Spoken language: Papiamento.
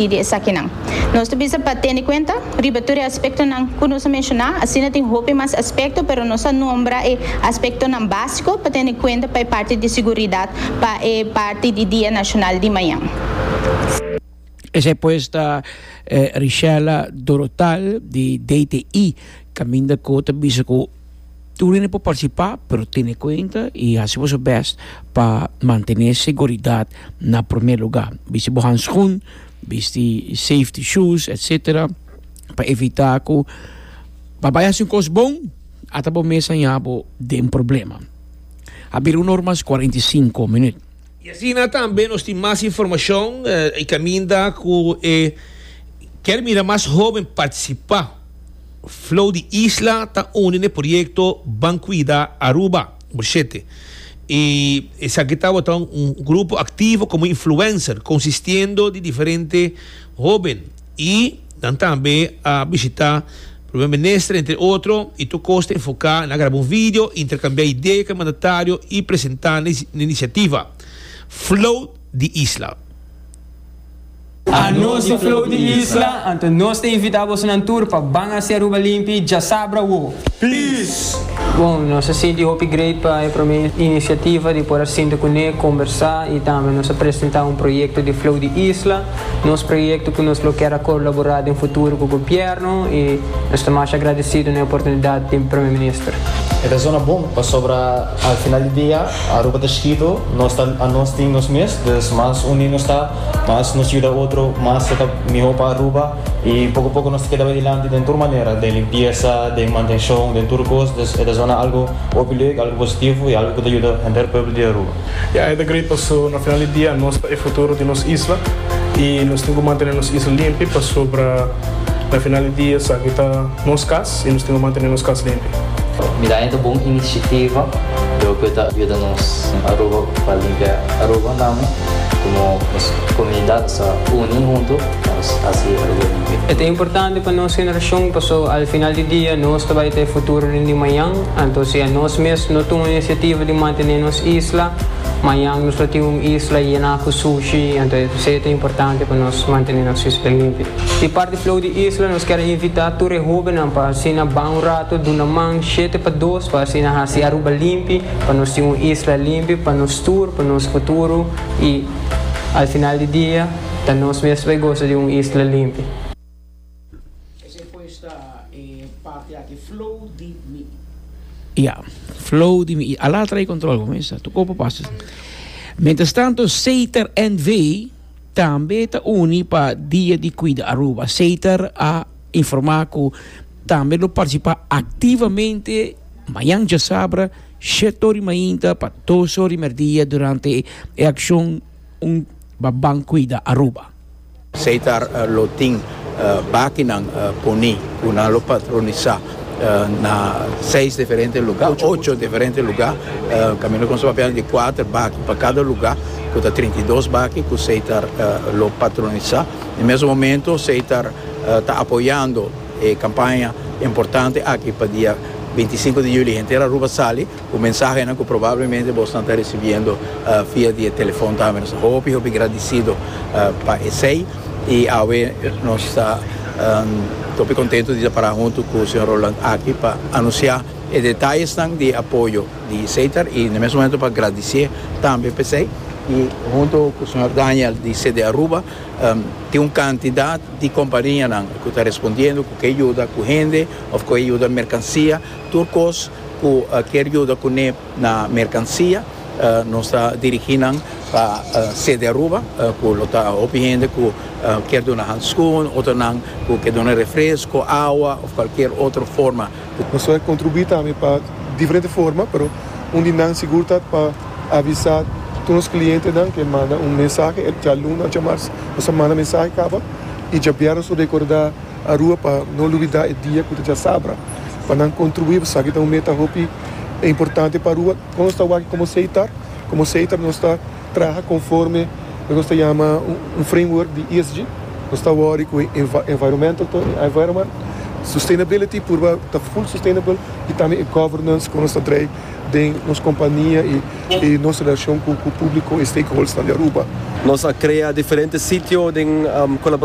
Di esakinan. Nos ta bisa pa tene kuenta riba tur e aspektonan ku nos a menshoná. Asina tin hopi mas aspekto, pero nos a nombra e aspektonan básiko pa tene kuenta pa e parti di siguridat pa e parti di Dia Nashonal di mañan. Esei pues ta Richella Dorotal di DTI kaminda ku ta bisa ku Tur hende por partisipá, pero tene kuenta i hasi boso bèst pa mantené seguridat na promé lugá. Bisti bo hanskun, bisti safety shoes, etsetera, pa evitá ku pa bai hasi un kos bon, ata bo mes haña bo den problema. A bira un or mas 45 minüt. I asina tambe nos tin mas informashon i kaminda ku e kier mira mas hóben partisipá. Flow di Isla ta uni n'e proyekto Ban Cuida Aruba, number shete. I esaki tabata un grupo aktivo komo influencer konsistiendo di diferente hóben i nan tambe a bishita Primer Minister entre otro i tur kos ta enfoká na graba un video, interkambiá idea ku e mandatario i presentá n'e inisiativa Flow di Isla. A nos di Flow di Isla, anto nos ta invita bosonan tur pa ban haci Aruba limpi djasabra awo. Peace! Bon, nos a sinti hopi great pa e prome iniciativa di por a sinta cune, combersa y tambe nos a presenta un proyecto di Flow di Isla, nos proyecto cu nos lo kier a colabora den futuro cu gobierno y nos ta masha agradecido na e oportunidad di Prome Minister. E ta zona bon pasobra al final di dia Aruba ta chiquito, nos ta anos tin nos mes, dus mas uni nos ta, Mas nos yuda otro, mas ta ta mihó pa Aruba y poco poco nos ta keda bay dilanti den tur manera, den limpieza, den mantencion, den tur cos. Dus e ta zona algo hopi leuk, algo positivo y algo cu ta yuda henter pueblo di Aruba. Ya, e ta great paso na final di dia nos ta e futuro di nos isla y nos tin cu mantene nos isla limpi pasobra na final di dia esaki ta nos cas y nos tin cu mantene nos cas limpi. Mi ta haña ta bon iniciativa, loke ta yuda nos Aruba pa limpia Aruba tambe. Como nos comunidad nos ta uni hunto pa nos haci Aruba limpi. E ta importante pa nos generacion paso al final di dia nos ta bay ta e futuro den di mañan, anto si anos mes no tuma iniciativa di mantene nos isla, mañan nos lo tin un isla yena cu sushi, anto esey ta importante pa nos mantene nos isla limpi. Di parti Flow di Isla nos kier a invita tur e hobennan pa asina ban un rato duna man shete pa dos pa asina haci Aruba limpi. Pa nos tin un isla limpi pa nos tur, pa nos futuro y al final di dia ta nos mes bay gosa di un isla limpi. Esey pues ta e parti aki flow di mi. Ya, flow di mi. Ala trae control bo mesa. Tu kopo pasa. Mientras tanto Seter NV tambe ta uni pa Dia di Cuida Aruba. Seter a informa cu tambe lo participa activamente. Mañan djasabra, shete ora di mainta pa dos ora di merdia durante e akshon Un pa Ban Kuida Aruba. Seitar lo tin bakinan poni ku nan lo patronisá na seis diferente lugá, ocho diferente lugá. Kaminda ku nos ta papiando di kuater baki pa kada lugá, ku ta 32 baki ku Seitar lo patronisá. Na mes momento Seitar ta apoyando E campaña importante aki pa dia 25 di juli henter Aruba sali cu mensahenan cu probablemente bosnan ta recibiendo via di e telefon tambe. Nos ta hopi hopi gradicido pa esey y awe nos ta hopi contento di ta para hunto cu señor Roland aki pa anuncia e detayesnan di e apoyo di Setar y na mes momento pa gradicie tambe p'esey y hunto cu señor Daniel di CD Aruba tin un cantidad di kompanianan ku ta respondiendo ku ke yuda ku hende òf ku e yuda merkansia, tur kos ku kier yuda kuné na merkansia nos ta dirigí nan pa sede Aruba ku lo ta hopi hende ku kier duna handskun, otronan ku ke duna refresko, awa òf kualkier otro forma. Nos ta kontribuí tambe pa diferente forma pero un di nan sigur ta pa avisá tur nos klientenan ke manda un mensahe djaluna òf djamars. Nos a manda mensahe kaba i djabièrnè nos lo rekordá Aruba pa no lubidá e dia ku ta djasabra pa nan kontribuí. Esaki ta un meta hopi importante pa Aruba. Kon nos ta wak komo Seitar? Komo Seitar nos ta traha konforme loke nos ta yama un framework di ESG. Nos ta wòri ku e environmental, environment, sustainability, purba ta full sustainable i tambe e governance kon nos ta drei den nos kompania i nos relashon ku públiko i stakeholdersnan di Aruba. Nos a crea diferente sitio den colaboracion.